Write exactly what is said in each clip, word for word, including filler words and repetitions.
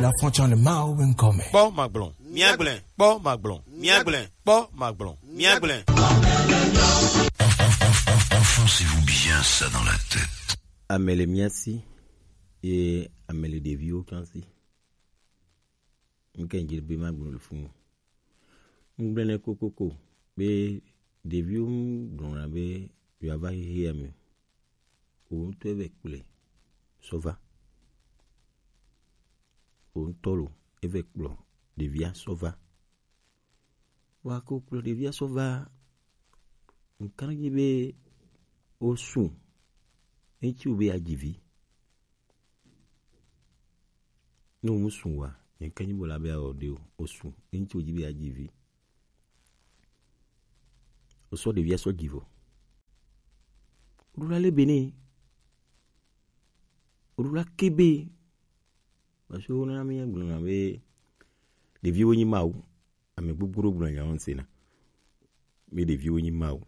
La frontière de Mao Wincome. Kpɔ magblɔ, míagblẽ. Kpɔ magblɔ, míagblẽ. Kpɔ magblɔ, míagblẽ. Enfoncez-vous bien ça dans la tête. Ame le mía si, ye ame le ɖeviwo tsã si. Ŋke dzi be magblɔ le funu. Ŋgblẽ nɛ kokoko be ɖeviwo ŋgblɔna be yewoava xexea me o. Wò ŋutɔ eve kplɔe sɔ va. Wò ŋutɔ lo, eve kplɔ ɖevia sɔ va. Wa ko kplɔ ɖevia sɔ va. Ŋkan dzi be wosu. Ŋtsi wo be ya dzi vi. Ne wo musu wa, ŋkan dzi bo la be ya wɔ ɖe o. Wosu. Ŋtsi wo dzi be ya dzi vi. Wosɔ ɖevia sɔ dzi vɔ. Woɖo la le be ne. Woɖo la ke be. Parce que wona mi gblɔna be ɖeviwo nyi Mawu. Ame gbogbo ɖo gblɔ nya wɔn sena. Mi ɖeviwo nyi Mawu.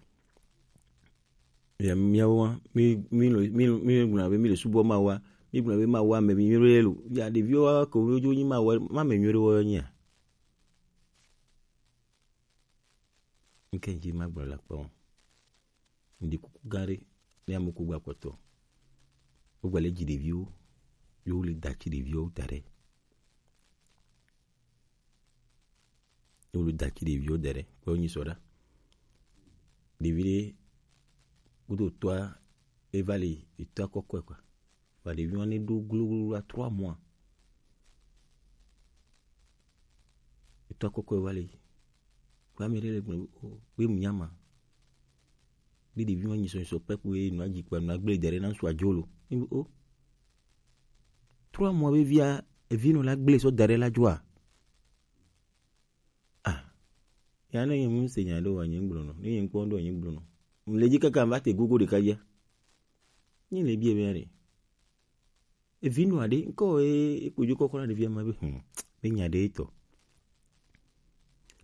Ya miawo wa, mi mi lo mi lo- mi gblɔna be mi le subɔ Mawu wa. Mi gblɔna be Mawu wa me mi nyuie lo. Ya ɖeviwo wa ko wo nyi Mawu wa, ma me nyuie wo nyia. Ŋke dzi magblɔ la kpɔ. Ŋdi kuku gã ɖe ne ame ku gba kpɔtɔ. Wogba le dzi ɖeviwo, yewo le da tsi ɖeviwo da ɖe. Yewo le da tsi ɖeviwo da ɖe. Kpɔ nyi sɔ ɖa. Ɖevi ɖe kudo tɔa eva le etɔa kɔkɔe kɔa. Vɔ ɖevi wan ne ɖo gloglo à trois mois. Etɔ kɔkɔe va le. Kpɔ ame ɖe le gblɔ be o, be mu nyama. Be ɖevi wan nyisɔ nyisɔ pɛpu ye nua dzi kpa nua gble dɛ ɖe na ŋsu adzo lo. Ni be o. Trois mois be via evi nɔ la gble sɔ da ɖe la dzoa. Ah. Ya ne nye mu se nya ɖo wa nye gblɔ nɔ. Ne nye kpɔ ɖo nye gblɔ nɔ. Mu le dzi kaka va te gogo ɖeka ya. Nye le bia be ya ɖe. Evi nɔ aɖe ŋkɔ e ekpo dzo kɔkɔ na ɖevia ma be hmm, be nya ɖe etɔ.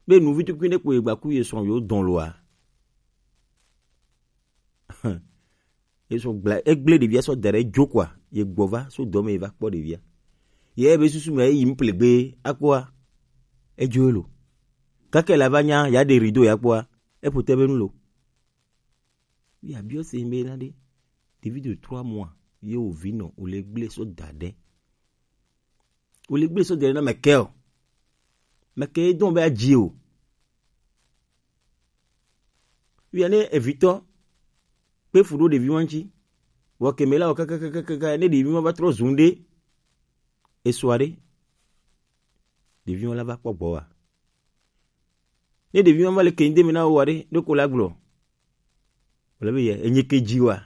Be nuvi tukui ɖe kpo egba ku ye srɔ̃ yo dɔn loa. Ye sɔ gbla egble ɖevia sɔ da ɖe dzo kɔa, ye gbɔ va so dɔ me ye va kpɔ ɖevia. Ye be susu me yi mplegbe akpɔa. Edzo elo. Kake la va nya ya ɖe rido ya kpɔa. Epo te be nu lo. Ye abiɔ se be na ɖe. Ɖevi de trois mois ye wo vi nɔ wo le gble sɔ da ɖe. Wo le gble sɔ da ɖe na mɛkɛ o. Mɛkɛ ye dɔn be adzi o. Via ne evitɔ kpe fu ɖo ɖevi wan ŋtsi. Vɔ keme la o kakakakaka ne ɖevi wan va trɔ zun ɖe. Esua ɖe. Ɖevi wan la va kpɔ gbɔ wa. Ne ɖevi ma va le keŋ de me na wo wa ɖe, ɖo ko la gblɔ. Wòle be yɛ, enye ke dzi wa.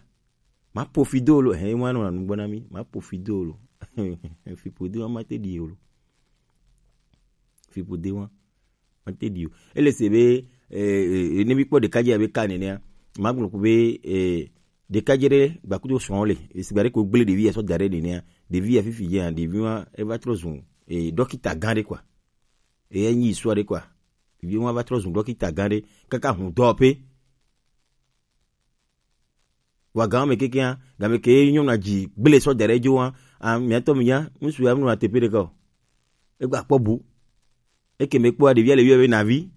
Ma po fi do lo, hɛn, ma nɔ nu gbɔ na mi, ma po fi do lo. Fi po de wa ma te ɖi o lo. Fi po de wa ma te ɖi o. Ele se be, eh, eh, ne mi kpɔ ɖekadze abe ka nenea, ma gblɔ ko be, eh, ɖekadze ɖe gbakudo srɔ̃ le, esigba ɖe ko gble ɖevi ya sɔ da ɖe nenea, ɖevi ya fifi ya, ɖevi ma eva trɔ zu, eh, ɖɔkita gã ɖe kɔa. Eye nyi sua ɖe kɔa. Ɖevi ma va trɔ zu ɖɔkita gã ɖe kaka hu dɔ pe. Wa gã me kekea, game ke nyɔnu adzi gble sɔ da ɖe dzo wa, a, miatɔ mi nya, ŋsu ya nu ateƒe ɖeka o. Egba kpɔ bu. Eke me kpɔ ɖevia le yɔ be navi.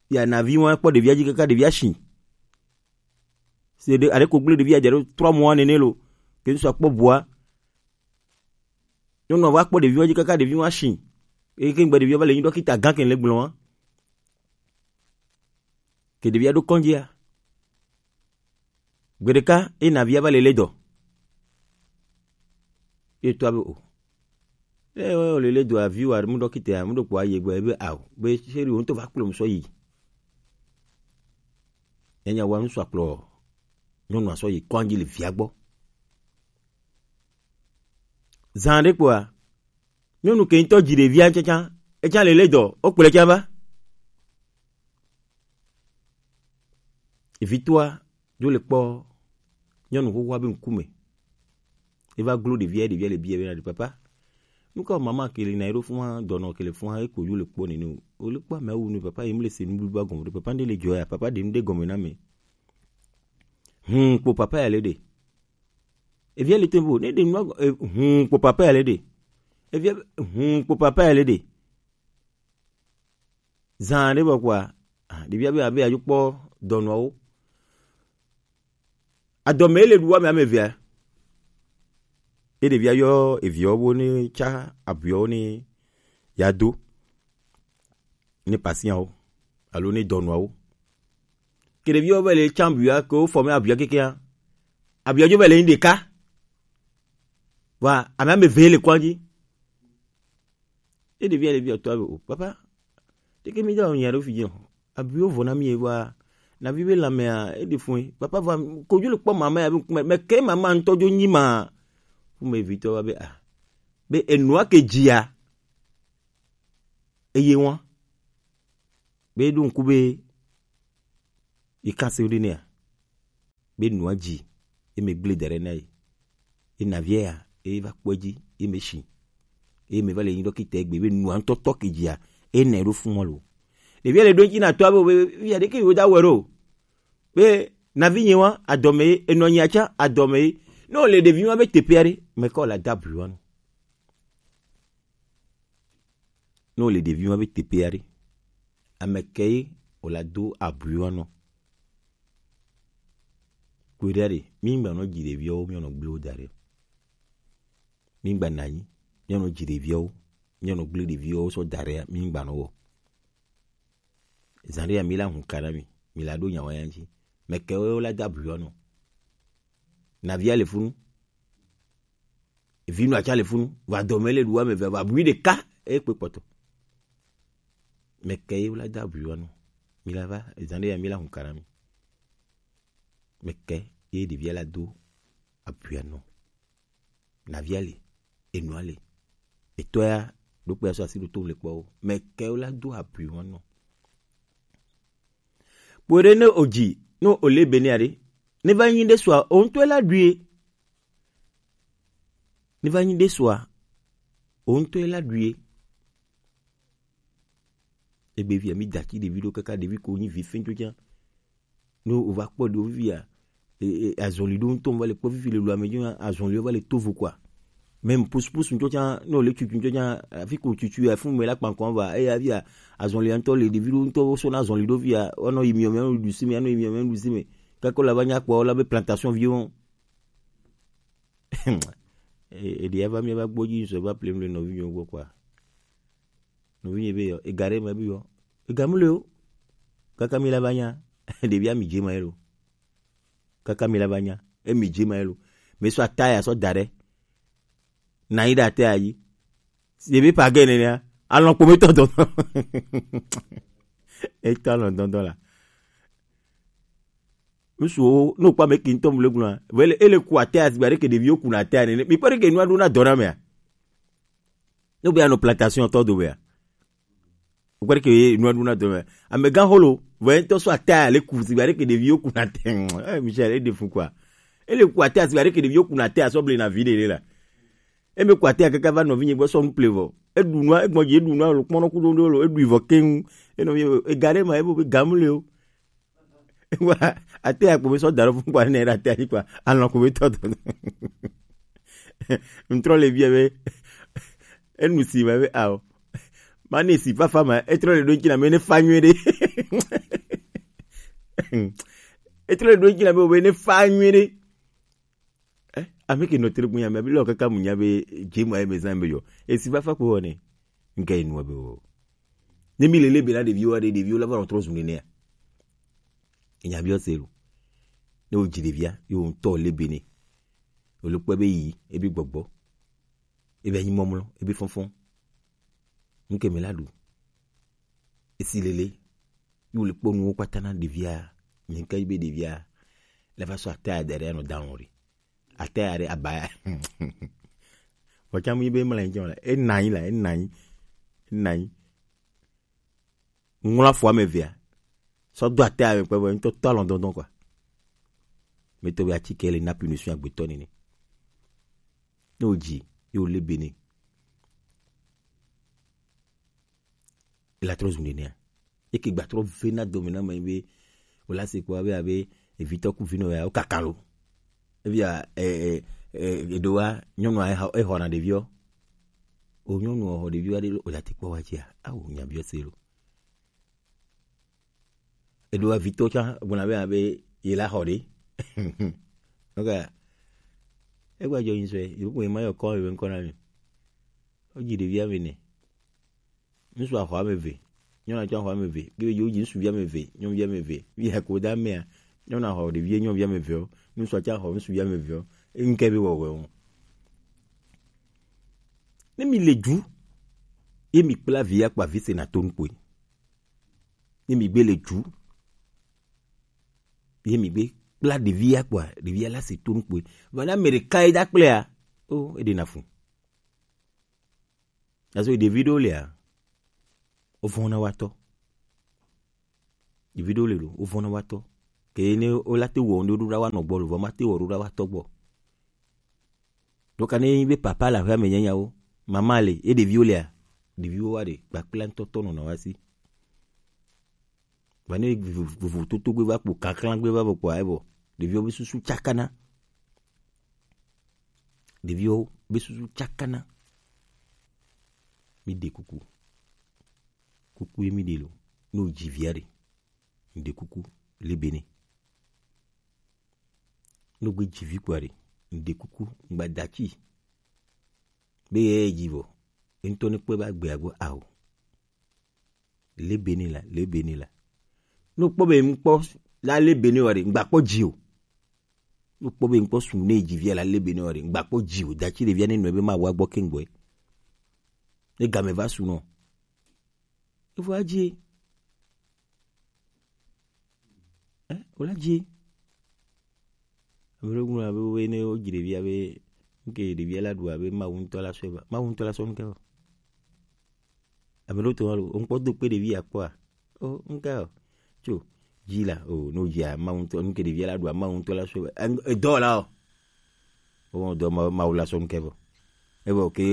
Ya navi wa kpɔ ɖevia dzi kaka ɖevia shi. Se ɖe, ale ko gble ɖevia dze ɖo trois mois nene lo. Ke ŋsu akpɔ bua. Nyɔnua va kpɔ ɖeviwo dzi kaka ɖeviwo asi. Eye ke ŋgbe ɖeviwo va le nyi ɖɔkita gã ke le gblɔ wa. Ke ɖevia ɖo kɔndzia. Gbe ɖeka ye navia va le le dɔ. Ye tɔ be o. Ye wo le le dɔ avi wa mu ɖɔkita mu ɖo kpɔ aye gbe be ao be seri wo ŋutɔ va kplɔ mu sɔ yi. Enya wa nu sɔ akplɔ nyɔnua sɔ yi kɔndzi le via gbɔ. Zã ɖe kpɔa, nyɔnu ke ŋutɔ dzi ɖevia tsatsa, etsã le le dɔ, wokplɔe tsã va. Evitɔa dzo le kpɔ nyɔnu xoxoa be ŋkume. Eva glo ɖevia, ɖevia le bia be na ɖe papa. Nu ka mama ke le na eɖo fua, dɔnɔ ke le fua, eko yo le kpɔ nene o. O le kpɔ amewo nu papa, ye mle se nuɖuɖua gɔme ɖe papa, nɖe le dzɔ ya, papa ɖe nu ɖe gɔme na me. Hum, kpo papa ya le ɖe. Evia le tempo, ne ɖe nu, eh, hum, kpo papa ya le ɖe. Evia be, hun kpo papa ele ɖe. Zan ɖe bɔ kpoa, ah, ɖevia be abe adzokpɔ dɔnɔawo. Adɔme ele ɖu ame ame evea. Ye ɖevia yɔ eviawo bo ne tsa abuiawo ne ya do. Ne pasiawo alo ne dɔnɔawo. Ke ɖeviawo be le tsa abuia ke wo fɔ me abuia kekea. Abuia dzo be le nyi ɖeka. Wa ame ame eve le kɔn dzi. Ye ɖevia le biɔ tɔa be o papa. Teke mi da o nya ɖo fi dzi o. Abuiwo vɔ na mi ye wa. Na vi be lamea e ɖe fun. Papa va kodzo le kpɔ mama ya be me ke mama ŋutɔ dzo nyi ma. Fu me vitɔ wa be a. Be enua ke dzia. Eye wa. Be ɖo ŋku be yi kase ɖe nea. Be nua dzi ye me gble da ɖe na ye. Ye navia ya ye va kpɔ dzi ye me shi. Ye me va le nyi ɖɔkita egbe be nua ŋutɔ tɔ ke dzia ye nɛ ɖo fun lo. Ɖevia le ɖo ŋtsi na tɔa be o be via ɖeke yo da wɛ ɖo. Be navi nye wa adɔme ye enɔ nya tsa adɔme ye. Ne o le ɖevi ma be teƒe aɖe me kɔ la da blu wa no. Ne wòle ɖevi ma be teƒe aɖe, ame kae wòla do abui wa nɔ? Kpɔe ɖa ɖe, mígba nɔ dzi ɖeviawo míanɔ gble wo da ɖe. Mígba nɔ anyi míanɔ dzi ɖeviawo míanɔ gble ɖeviawo sɔ da ɖea, mígba nɔ wɔ. Zã ɖe ya mi la hun ka na mi, mi la ɖo nya wa ya ŋuti. Mɛ kae wola do abui wa nɔ? Nɔvia le funu. Evi nɔ atsa le funu, va dɔme le ɖu ame eve, va bui ɖeka e kpe kpɔtɔ. Mɛ kae ye wla da bui wa nɔ? Mi la va, ezã ɖe ya mi la hun ka na mi. Mɛ kae ye ɖevia la do abui wa nɔ? Nɔvia le, enua le. Etɔ ya ɖo kpe ya sɔ asi ɖo to le kpɔ o. Mɛ kae wla do abui wa nɔ? Kpo ɖe ne o dzi, ne o le be ne aɖe, ne va nyi ɖe sua, o ŋutɔ la ɖui. Ne va nyi ɖe sua, o ŋutɔ la ɖui. Egbe via mi dati ɖevi ɖo kaka ɖevi ko nyi vi fɛn tso tsã. Ne o va kpɔ ɖevi via, e, e, azɔli ɖo ŋutɔ va le kpɔ fifi le lo ame dzi, azɔli va le to vo kɔa. Même pousse pousse ŋutɔ tsã, ne o le tutu ŋutɔ tsã, afi ko tutu ya fun me la kpankɔ va, eya via, azɔli ŋutɔ le ɖevi ɖo ŋutɔ wo sɔ na azɔli ɖo via, o nɔ yi miɔ me, o nɔ ɖu si me, o nɔ yi miɔ me, o nɔ ɖu si me. Kaka la va nya kpɔ la be plantation viwo. E, e ɖi ava mi va gbɔ dzi sɔ va plem le nɔvi nyo gbɔ kɔa. Nɔvi nyo be yɔ, e ga ɖe me be yɔ. E ga mu le o. Kaka mi la va nya. Ɖevia mi dze ma ye lo. Kaka mi la va nya. E mi dze ma ye lo. Mi sɔ ata ya sɔ da ɖe. Na yi ɖe ata ya dzi. Si ebe pa ge nenea. Alɔn kpo me tɔ dɔdɔ. Etɔ alɔn dɔdɔ la. Ŋutsuwo, ne wokpɔ ame ke ŋutɔ mu le gblɔa, vɔ ele, ele ku ate ya sigba ɖeke ɖeviwo kuna ate ya nene. Mi kpɔ ɖeke nua ɖo na dɔ na mea? Ne be anɔ plantation tɔ do mea? Wokpɔ ɖeke nua ɖo na dɔ mea? Amegã holo, vɔ ye ŋutɔ sɔ ate ya le ku sigba ɖeke ɖeviwo kuna ate. Eh, Michel, e ɖe fu kɔa. Ele ku ate ya sigba ɖeke ɖeviwo kuna ate ya sɔ ble na vi ɖe ɖe la. Eme ko ate ya kaka va nɔvinye gbɔ sɔ nu ple vɔ. Eɖu nua, egbɔn dzi eɖu nua lo, kpɔnɔ kudo ɖo lo, eɖui vɔ keŋ. Enɔ mi ega ɖe ma, ebo be gamu le o. Wa, ate ya kpo be sɔ da ɖo fun kpa ne ɖe ate ya dzi kpa, alɔn ko be tɔ dɔ. Ŋtrɔ le bia be, enu si ma be ao. Ma ne si fafa ma, etrɔ le ɖo ŋtsi na me ne fa nyuie ɖe. Etrɔ le ɖo ŋtsi na me o be ne fa nyuie ɖe. Eh, ame ke nɔ tre gbunya me, abi lɔ kaka mu nya be, dze ma ye me zã be yɔ. Esi va fa kpo ne. Nke enu be o. Ne mi lele be na ɖeviwo ɖe, ɖeviwo la va nɔ trɔ zu nenea. Enya bi o se lo. Ne o dzi ɖevia, yo ŋutɔ le be ne. O le kpɔe be yi, ebi gbɔgbɔ. Ebi anyi mɔmlɔ, ebi fɔnfɔn. Nke me la ɖu. Esi lele. Yo le kpɔ nuwo kpata na ɖevia. Nye nke be ɖevia. Le va sɔ ate ya da ɖe anɔ da ŋu ɖe. Ate ya ɖe aba ya. Vɔtsa mu yi be mla ŋdzi o la. E na anyi la, e na anyi. E na anyi. Ŋlɔ afɔ ame evea. Sɔ do ate ya me kpe vɔ ŋutɔ tɔ alɔn dɔndɔn kɔa. Me to be atike le na punition agbetɔ nene. Ne o dzi, ye o le be ne. Ela trɔ zu nenea. Eke gba trɔ ve na dome na me be, o la se kpɔ abe, abe, evitɔ ku vinɔ ya, o kaka lo. Evia, e, e, e, eɖo wa, nyɔnua, e, e xɔna ɖeviɔ. O nyɔnu xɔ ɖevi wa ɖe lo, o ya te kpɔ wa tsia? Awo, nya biɔ se lo. Eɖo avitɔ tsa gbɔna be abe ye la xɔ ɖe. Ok. Egba jɔ yin sɔe, yo ko ma yɔ kɔ be nkɔ na mi. O ji ɖevi ame ne. Ŋsu axɔ ame eve. Nyɔnu tsɔ axɔ ame eve. Ke be yo ji ŋsuvi ame eve, nyɔnuvi ame eve. Wi ya ko da mea. Nyɔnu axɔ ɖevi nyɔnuvi ame eve o. Ŋsu tsɔ axɔ ŋsuvi ame eve o. Ŋke be wɔwɛ o. Ne mi le ju, ye mi kpla vi ya kpa vi se na to nukpoe. Ne mi gbe le ju, ye mi gbe kpla ɖevi ya kpa, ɖevi ya la se to nukpoe. Va na Amerika ye da kple ya. O, e ɖe na fu. Aso ɖevi ɖewo lia, wo vɔna watɔ. Ɖevi ɖewo le ɖo, wo vɔna watɔ. Ke ne wo la te wɔ ŋɖe ɖo ɖa wa nɔ gbɔ lo, vɔ ma te wɔ ɖo ɖa wa tɔ gbɔ. Donc ne nyi be papa le aƒea me nyanyawo, mama le, ye ɖeviwo lea, ɖeviwo wa ɖe, kpakpla ŋutɔtɔ nɔna wa si. Vɔ ne vovo-, vovototo gbe va kpo, kakla gbe va vɔ kpoa, evɔ ɖeviwo be susu tsakana. Ɖeviwo be susu tsakana. Mi ɖe kuku. Kuku ye mi ɖe lo. Ne o ji via ɖe, mi ɖe kuku, le be ne. Ne o gbe ji vi kpoa ɖe, mi ɖe kuku, ŋgba da ci. Be ye ji vɔ, ye ŋutɔ ne kpɔe be agbea gbɔ ao. Le be ne la, le be ne la. Ne o kpɔ be ŋkpɔ la le be ne wa ɖe, ŋgba kpɔ ji o. Ne o kpɔ be ŋkpɔ su ne ji via la le be ne wa ɖe, ŋgba kpɔ ji o. Da ci ɖevia ne nɔ be ma wa gbɔ ke ŋgbɔe. Ne game va su nɔ. Evo adzi. Eh, o la dzi. Ame ɖewo gblɔ abe wobe ne wodzi ɖevia be, nuke ɖevia la ɖu abe Mawu ŋutɔ la sɔe va. Mawu ŋutɔ la sɔ nuke va. Ame ɖewo tɔ lo, ŋkpɔ do kpe ɖevi ya kpɔa? O, nuke o. Tso, dzi la, o, no dzia, Mawu ŋutɔ, nuke ɖevia la ɖu, Mawu ŋutɔ la sɔe va. Eng-, edɔ la o. O, dɔ Mawu, Mawu la sɔ nuke vɔ. Evɔ ke,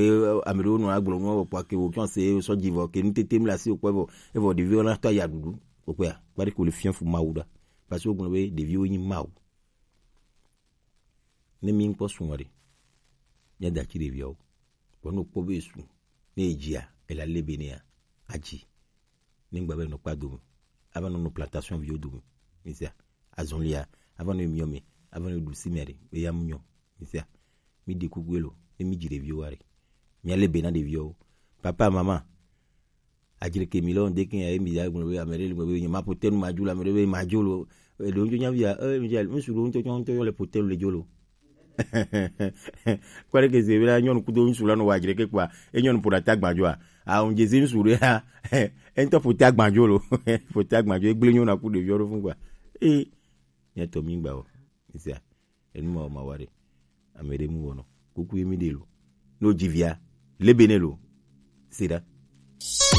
ame ɖewo nɔ agblɔ nu vɔ kpɔa ke wò tsɔ se sɔ dzi vɔ ke nu tete mla si wò kpɔ vɔ. Evɔ ɖeviwo la tɔ ya ɖuɖu. Wò kpɔa, kpaɖi ko le fiã fu Mawu ɖa. Parce que wogblɔ be ɖeviwo nyi Mawu. Ne mi ŋkpɔ su ŋɔ ɖe, mia da ci ɖeviawo. Vɔ ne wokpɔ be su, ne edzia, ela le be nea, adzi. Ne ŋgba be nɔ kpa dome, ava nɔ nɔ plantation viwo dome. Misia, azɔlia, ava nɔ miɔ me, ava nɔ ɖu si me ɖe, be ya mu nyɔ. Misia, mi ɖe kuku elo, ne mi dzi ɖeviwo wa ɖe. Mia le be na ɖeviawo. Papa, mama, adzreke mi lɔ ŋde ke ya mi ya gblɔ be ame ɖe le gblɔ be nye ma ƒo te nu ma dzo le ame ɖe be ma dzo lo. Eɖo ŋdzo nya via, e, mi dza, ŋsu ɖo ŋutɔ tsɔ ŋutɔ yɔ le ƒo te nu le dzo lo. Kpɔ ɖe ke ze be la nyɔnu kudo ŋsu la nɔ wa adzreke kpɔa, e nyɔnu ƒo ɖa ta gbadzo a. A ŋdze zi ŋsu ɖe ya, e ŋutɔ ƒo te agbadzo lo. Ƒo te agbadzo, e gblẽ nyɔnu aku ɖeviwo ɖo fun kpɔa. E, nye tɔ mi gba o. Sia. Enu ma ma wa ɖe. Ame ɖe mu wɔnɔ. Kuku ye mi ɖe lo. No dzi via, le be ne lo. Sida.